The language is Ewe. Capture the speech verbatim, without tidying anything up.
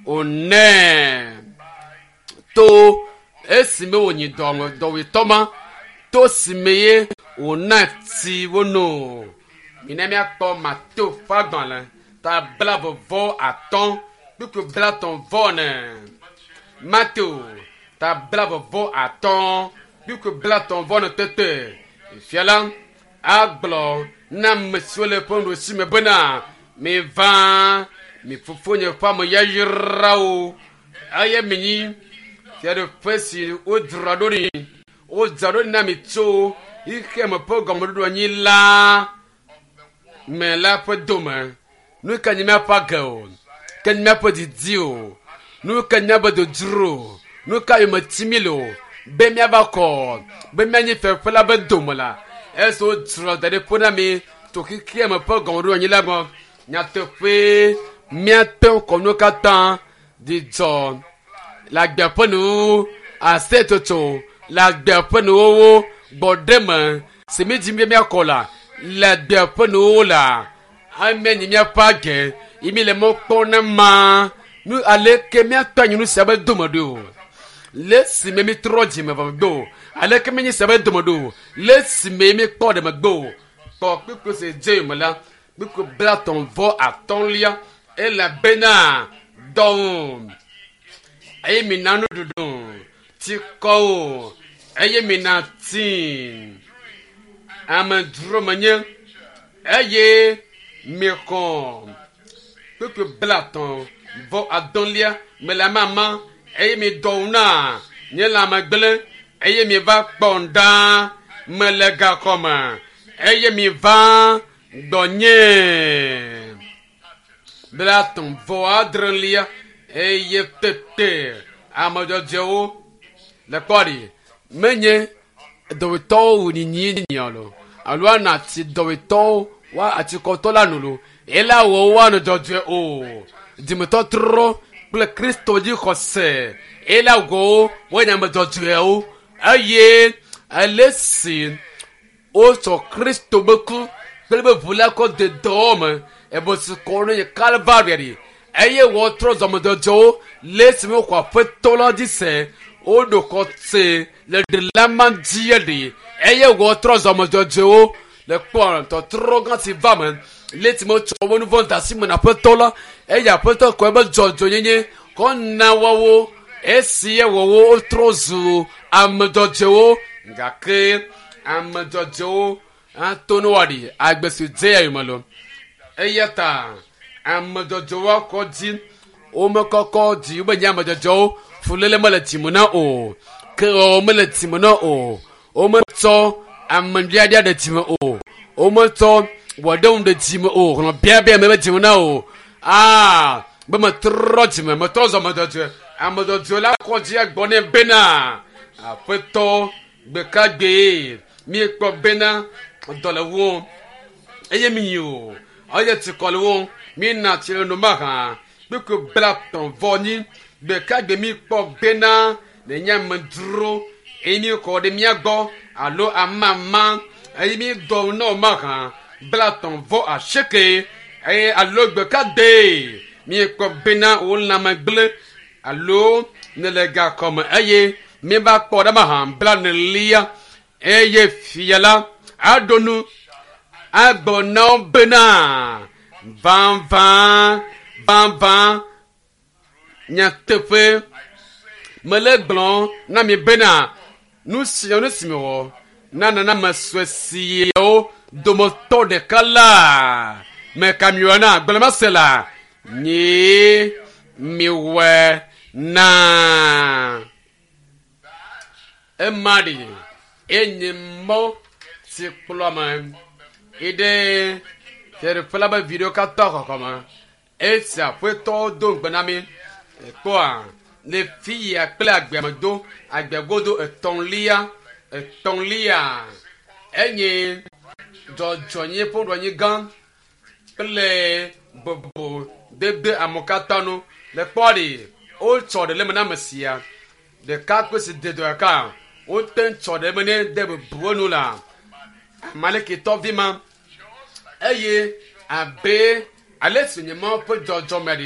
Wònɛ to esime wònyi dɔwɔetɔ ma to sime ye wòna tsi wono. Mina míakpɔ Mateo ƒe agbalẽ ta blaeve vɔ atɔ̃ kpukpui blaetɔ̃ vɔ ene. Mateo ta blaeve vɔ atɔ̃ kpukpui blaetɔ̃ vɔ ene tete. Fia la agblɔ na ame siwo le eƒe nuɖusi me bena miva mi fofonye ƒe ame yayrawo eye minyi fiaɖuƒe si wodzra ɖo ɖi wodzra ɖo ɖi na mi tso xexeame ƒe gɔmeɖoɖo anyi la me la ƒe dome. Nu ka nye míaƒe age o, ke nye míaƒe didi o, nu ka nye míaƒe dzodzro o, nu ka yome tim mi le o, be míava kɔ, be míanyi fiaɖuƒe la ƒe dome la, esi wodzra da ɖi ƒo na mi tso xexeame ƒe gɔmeɖoɖo anyi la gbɔ. Nyateƒe míate ŋu kɔ nuwo katã dzidzɔ le agbea ƒe nuwuwu, aseyetsotso le agbea ƒe nuwuwu, gbɔɖeme si mi dzim be míakɔ la le agbea ƒe nuwuwu la ame nyi míaƒe age yi mi le mɔ kpɔm ne ma nu aleke míatɔ anyi nu sia be dome ɖo le esime mi trɔ dzime vɔ megbe o aleke mi nyi sia be dome ɖo le esime mi kpɔ ɖe megbe o kpɔ kpukpui si dze yome la kpukpui blaetɔ̃ vɔ atɔ̃lia elabena dɔwò eye mina nuɖuɖu tsikɔ o eye mina tsi amedzro menye eye mixɔ kpukpui blaetɔ̃ vɔ adɔ̃lia mele amama eye mi dɔwò na nye lãme gblẽ eye mi va kpɔm ɖa mele gaxɔme eye mi va gbɔnye blaetɔ̃ vɔ adrelia eye tete ame dzɔdzɔewo le kpɔ ɖi menye dɔwɔtɔwo wònyinyi alo alo ana ati dɔwɔtɔwo wa atikɔtɔ la no lo ela wɔ woanɔ dzɔdzɔe o dzimetɔtrɔ kple kristo dzi xɔse ela wɔ wo woanye ame dzɔdzɔewo eye ale si wotsɔ kristo be ku kple be ʋu la kɔ de dɔwɔ me ebe si kɔ ne nye kalvaria ɖi eye wotrɔ zɔmedzɔdzɔwo le esime woxɔ aƒetɔ la dzi se woɖo xɔse le ɖela ma dzi ɖi eye wotrɔ zɔmedzɔdzɔwo le kpɔ tɔtrɔ gã si va me le esime wotsɔ woƒe nu vɔ̃ da asi me na aƒetɔ la eye aƒetɔ kɔ ebe dzɔdzɔnyenye kɔ na woawo esi ye wɔwo wotrɔ zu ame dzɔdzɔewo gake ame dzɔdzɔewo ato ne woaɖi agbe si dze ya yome lo eya ta ame dzɔdzɔewo akɔ dzi womekɔkɔ dzi wobe nye ame dzɔdzɔewo fuléle mele dzime na o ke mele dzime na o wometsɔ ame ɖiaɖia ɖe dzime o wometsɔ wɔɖeŋu ɖe dzime o hlɔ̃ biabia me be dzime na o aa be metrɔ dzime metrɔ zɔ ame dzɔdzɔe ame dzɔdzɔe la kɔ dzi gbɔ nɛ bena aƒetɔ gbeka gbee miekpɔ bena dɔ le wo eye mi yi o eye tsikɔ le wo mina tsi le no mahã kpukpui blaetɔ̃ vɔ nyi gbeka gbe mi kpɔ bena nenye amedzro eye mi kɔ ɖe mía gbɔ alo amama eye mi dɔ na wo mahã blaetɔ̃ vɔ asieke eye alo gbeka gbe miekpɔ bena wo lãme gblẽ alo nele gaxɔme eye mieva kpɔ ɖe mahã blaenelia eye fia la aɖo nu agbɔ na wo bena vavã vavã nyateƒe mele gblɔ na mi bena nu sia nu si mewɔ na nana sue siawo dometɔ ɖeka la meka mi wɔ na gblɔmase la nyee miwɔe na ema ɖi enye mɔ si kplɔ ame yi ɖe fiaɖuƒe la be vi ɖewo katã xɔxɔ me esi aƒetɔwo do ŋugbe na mi ekpɔa le fi ya kple agbea me do agbea godo etɔ̃lia etɔ̃lia enye dzɔdzɔnye ƒe ɖoanyi gã kple bobo dede amewo katã nu le kpɔ ɖi wotsɔ ɖe le me na ame sia ɖeka kpe si de dɔ ɖeka wote tsɔ ɖe me ne de bubu enu la amalekitɔ vi ma eye abe ale si nye Mawu ƒe dzɔdzɔme ɖi